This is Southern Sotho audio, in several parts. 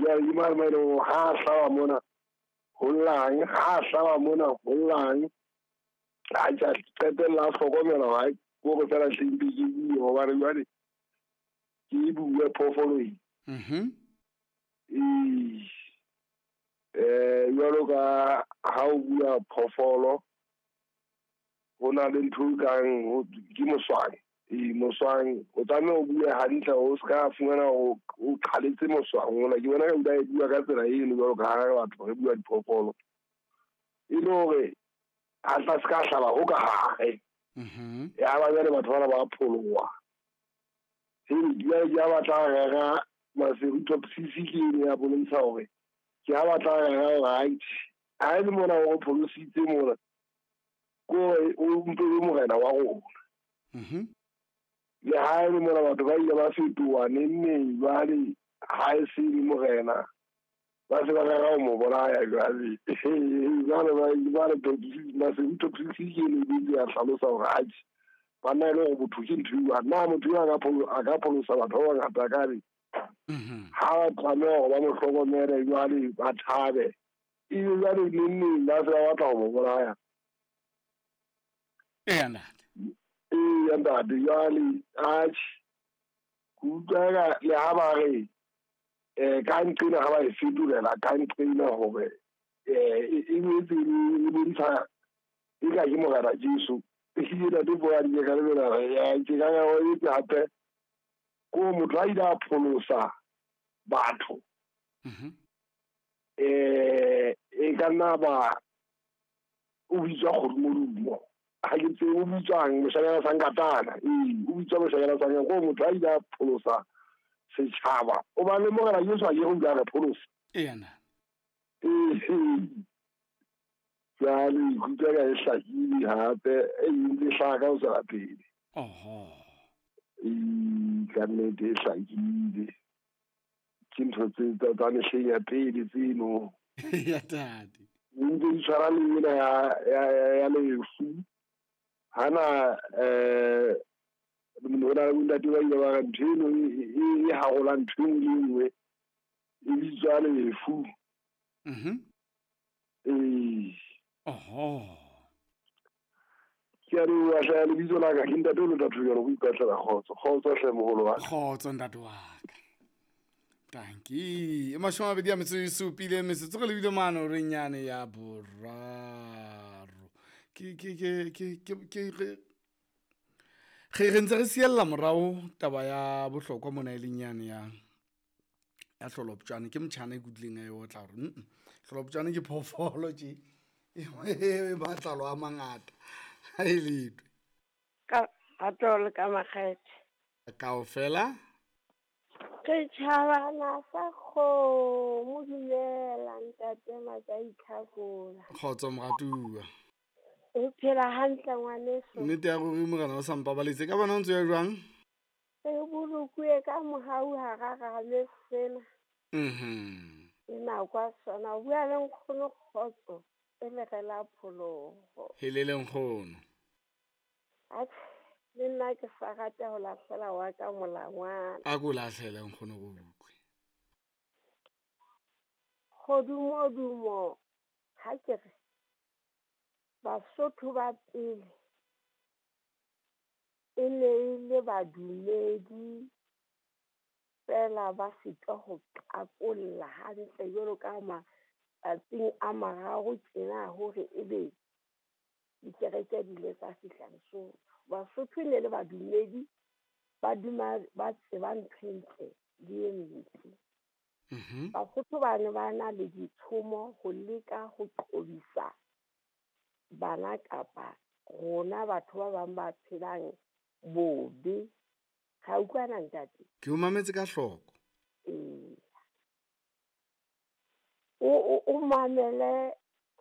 Jwale ke mane mo e leng hore ha a hlaba mona ho llang, ha a hlaba mona ho llang. A qetella a hlokomela hore hai kore fela hle mpe ke bue hobane jwale ke e bue phoofolo e. Ee. Jwalo ka ha o bua phoofolo ho na le ntho e kang ke moswang. Ee, moswang o tlameha o bue hantle o ska fumana o qhaletse moswang ona. Ke bona ka e bua ka tsela eno jwalo ka ha batho re bua diphoofolo. E le hore a tla ska hlaba ho ka hare. Ya ba jwale batho bana ba pholoha. Jwale ke ha batla rera Maseru top six ke eno ya bontsha hore ke ha batla rera hore ha e le mona o re pholositse mona ko o mpe o morena wa rona. Le ha e le mona batho ba ile ba fetoha neng neng jwale ha e se le morena ba se ba rera ho mo bolaya jwale. Jwale ba re top six Maseru top six ke eno e ya hlalosa hore atjhe banna e le hore botho ke ntho e jwang. Na motho eo a ka pholosa batho ba bangata ka re ha ba tlameha hore ba mo hlokomele jwale ba thabe. Ebe jwale neng neng ba se ba batla ho mo bolaya. Eya ntate. Eya ntate jwale atjhe ke utlwa le ha ba re ka nqena ha ba e fetolela ka nqena hore e boetse e bontsha e ka ke morena Jesu. Ehlile ntate Boadi ke ka lebela ke ka ya o etse hape ko motho a ile a pholosa batho. E ka nna ba o bitswa kgodumodumo. Ha ke tsebe o bitswang moshanyana sa Nkatana. Ee, o bitswa moshanyana sa Nkatana. Ko motho a ile a pholosa setjhaba. O ba le morena Jesu a ke o ile a re pholosa. Eya ntate. Ee. Jwale ikutlwa ka e hlakile hape e ntse e hlaha ka ho tswela pele. Oho. Ee, ka nnete e hlakile. Ke ntho tse tsa mehleng ya pele tseno. Ya ntate. Ntse di tshwana le ena ya lefu. Hana ho na le bontate ba ile ba re ntho eno e harola ntho e nngwe le e nngwe e bitswa lefu. Ee. Oho. Ke a leboha hle, lebitso la ka ke ntate o lota thujano, go ipatlela kgotso. Kgotso hle moholo wa ka. Kgotso ntate wa ka. Tanki. E 27 metsotso re lebile mane horeng yane ya boraro. Ke re ntse re siella morao taba ya bohlokwa mona e leng yane ya hloloptjane. Ke motjhana e kutlwileng a e otla hore hloloptjane ke phoofolo tje e matlalo a mangata ha e letwe. Ka atole ka makgethe. Kaofela Re tjhabana sa kgomo, dumela ntate Matšai Tlhakola. Kgotso moratuwa. O phela hantle ngwaneso. Nnete ya ruri morena o sa mpabaletse. Ka bona o ntse ya jwang? Re bolokuwe ka mohau hara rame sena. Ke nako ya sona. O bua le nkgono kgotso e le re la pholoho. Helele nkgono. Atjhe, le nna ke sa rata ho lahlela wa ka molangwana. A ko lahlele nkgono go utlwe. Kgodumodumo ha ke re Basotho ba pele e ne e le badumedi fela ba sitwa ho qakolla hantle jwalo ka matsatsing a mararo tjena hore ebe dikereke di ile tsa fihla Lesotho. Basotho e ne le badumedi ba duma ba tseba ntho e ntle le e mpe. Basotho ba ne ba na le ditshomo ho leka ho qobisa bana kapa rona batho ba bang ba phelang bobe. Ra utlwana ntate? Ke o mametse ka hloko. Ee. O mamele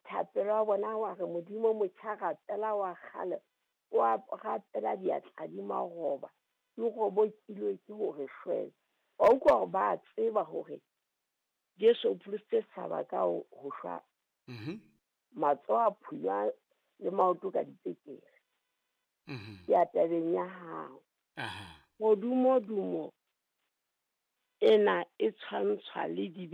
thapelo ya bona wa re Modimo motjha rapela wa kgale wa rapela diatla di maroba di robokilwe ke hore shwele. Wa utlwa hore ba tseba hore Jesu o pholositse setjhaba ka ho shwa. Matsoho a phunywa le maoto ka dipekere. Ke ya tabeng ya hao. Kgodumodumo ena e tshwantshwa le dibe